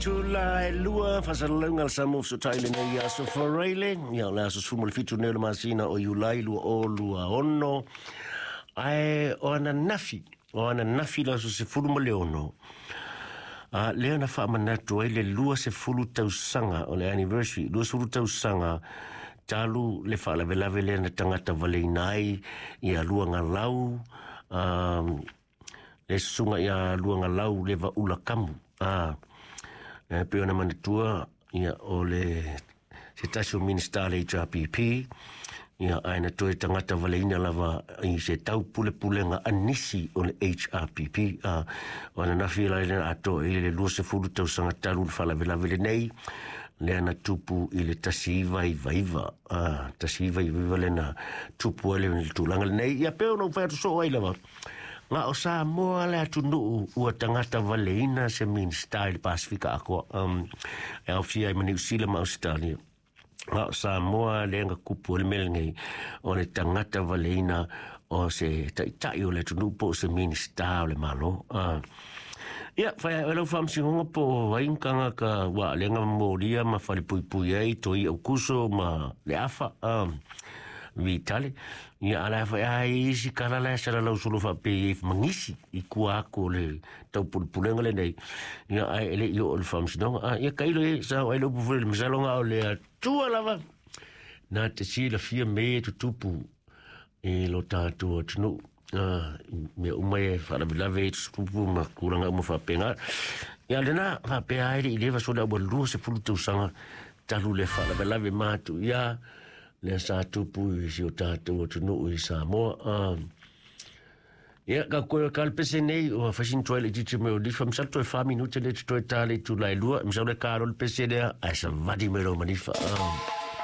Itula e 2 faasalalauga a le Samoa Fesootai i lenei aso Faraile, ia o le aso 17 nei o le masina o Iulai 2026, ae o ananafi, o ananafi le aso 16, a lea na faamanatu ai le 20 tausaga o le anniversary, 20 tausaga talu le faalavelave lea na tagata valeina ai ia Luagalau, le susuga ia Luagalau le Vaula Kamu. E pei ona manatua, ia o le se tasi o Minista le HRPP, ia ae na toe tagata valeina lava i se tau pulepulega anisi o le HRPP. O ananafi la le atoa i le 20 tausaga talu le faalavelave lenei, lea na tupu i le 1999, 1999 lea na tupu ai le tulaga lenei. Ia pei ona ou fai atu soo ai lava, na o Samoa le atunuu ua tagata valeina se Minista i le Pasifika atoa, e aofia ai ma Niu Sila ma Ausetalia. Na o Samoa lea na kupu ai le mea lenei o le tagata valeina o se taitai o le atunuu po o se Minista o le Malo. Ia, fai ai lau faamasinoga po o ai ni tagata ua lea na molia ma falepuipui ai toi Aukuso ma le afa Vitale. Ia ala fai ai isi kala la sala lau solo faapei e mangisi i kua aku o le taupulepulega lenei. Ia ai ele i o le faamasinoga. Ia kailo e sa ai le upu foi le masalonga o le atua lava. Na te silafia me e tutupu i lo tātou atunuu. Mea uma e faalavelave e tutupu ma tulaga uma faapena. Ia lena faapea ai le i leva sole ua 20 tausaga talu le faalavelave matu ia lea sa tupu i si o tātou atunuu i Samoa. Ia, ka koe ka le pese nei, o fasin toi le titi me o lifa, misal toi 4 minute le toi tā le itula e 2, misal le ka le pese lea, ai sa vadi me lo manifa.